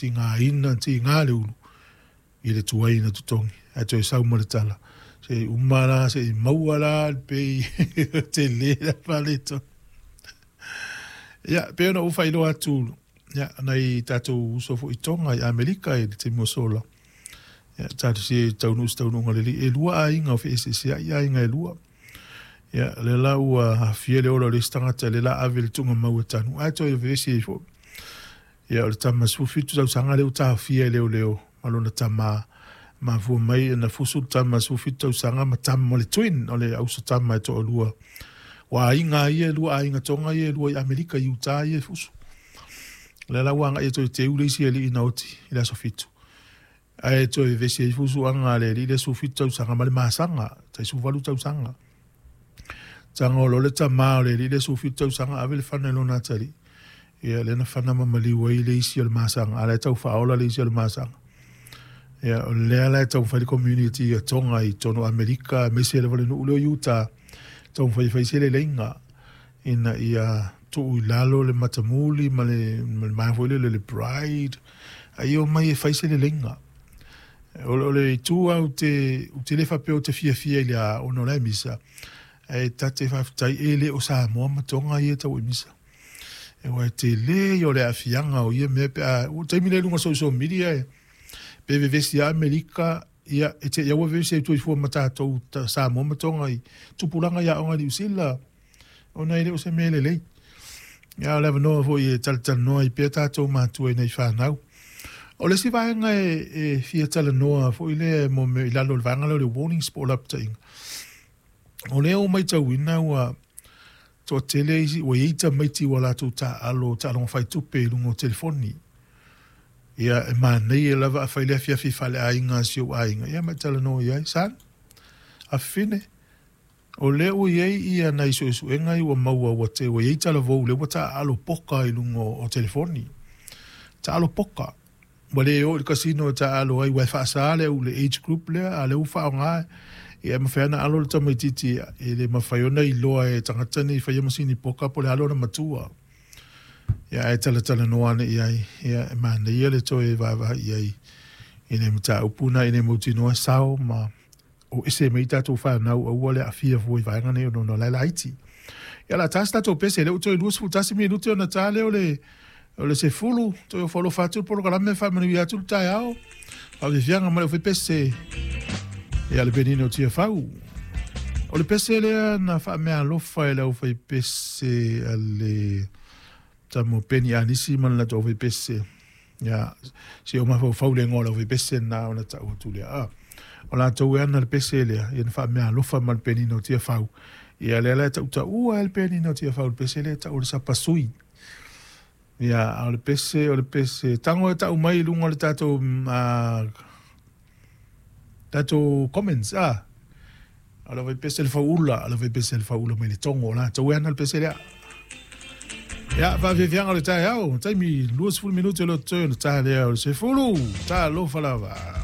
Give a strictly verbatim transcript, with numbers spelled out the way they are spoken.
tigaina tiga le ulu i le tuai na totogi ae toe sau ma le tala seʻi uma la seʻi maua la le pei telē la faaletonu. Ia pei ona ou faailoa atu ia nai tatou uso foʻi Toga i Amerika i le taimi ua sola ia talosia i taunuu se taunuuga lelei e lua aiga o feeseeseaʻi aiga e lua. Ia lea la ua aafia le ola o le isi tagata lea la ave le tuugamau e tanu ae toe vevesi ai foʻi. Ia o le tama sefulufitu tausaga lea ua taofia e leoleo ma lona tamā mafua mai na fusu le tama sefulufitu tausaga ma tama o le twin o le auso tama e toalua ua aiga ia e lua aiga Toga ia e lua i Amerika i Utah ia e fusu. O lea la ua agaʻi e toe teu le isi alii na oti i le aso fitu ae toe vevesi ai fusuaga a le alii le sefulufitu tausaga ma le masaga tai sefuluvalu tausaga. Tago loa le tamā o le alii le sefulufitu tausaga ave le fana i lona atalii. Ia lea na fana ma maliu ai le isi o le masaga a o la e tau faaola le isi o le masaga. Ia o lea la e taumafai le community a Toga i totonu o Amerika aemaise lava le nuu lea o Utah taumafai e fai se leleiga ina ia tuu i lalo le matamuli ma le ma le ma foi lele le pride a ia omai e fai se leleiga. O le o le itu lava ou te ou te le faapea ou te fiafia i le a ona o la e misa ae ta te faafetai e le o Samoa ma Toga ia e tau i misa. Aua e telē ia o le aafiaga o ia mea pe a ua taimi lea i luga o social media e pe vevesi lava Amerika ia e te i lava ua vevesi ai soifua ma tatou Samoa ma Toga i tupulaga i aoga i Niu Sila ona e le o se mea lelei. Ia o le avanoa foi e talatalanoa ai pea tatou matua i nai fanau. O le isi vaega e e fia talanoa foi lea mo mea i lalo o le vaega lea o le warnings po o lapataiga. O lea ua matauina ua toatele isi ua i ai tamaiti ua latou taaalo taaloga faitupe i luga o telefoni. Ia e manaia lava afai le afiafi faaleaiga a si ou aiga ia ma e talanoa i ai, son, afafine, o lea ua i ai ia nai suesuega ia ua maua ua te ua i ai talavou lea ua taaalo poka i luga o telefoni. Taalo poka. Ua le o i le casino e taaalo ai aua e faasa le au le age group lea a o lea ua faaaoga ia e mafai lava ona alo le tamaitiiti e le mafai ona iloa e tagata nei e faia masini poka po o le a lona matua. Ia ae talatalanoa ane i ai ia e manaia le toe vaavaai i ai i le mataupu lena ina ia mautinoa e sao ma o ese mai tatou fanau aua le aafia fua i vaega nei ona o la e laiti. Ia o le a ta se tatou pese lea ua toe luasefulu tasi minute ona ta lea o le o le sefulu toe ofo alofa atu le polokalame faamanuia atu le taeao faafiafiaga ma le aufaipese ia le penina o Tiafau. O le pese lea na faameaalofa e le aufaipese a le tama o Peni Anisi ma le latou aufaipese. Ia se i ou mafaufau i le igoa o le aufaipese lena ona tau atu lea. A o latou e ana le pese lea ia na faameaalofa ma le penina o Tiafau. Ia lea la e tautaua ai le penina o Tiafau i le pese lea e tau o le sapasui. Ia a o le pese o le pese tago e tau mai i luga o le tatou uh, tatou comments a o le aufaipese le fauula o le aufaipese le fauula mai le Togo o latou e ana le pese lea. Ia faafiafiaga o le taeao taimi luasefulu minute o le totoe ona ta lea o le sefulu talofa lava.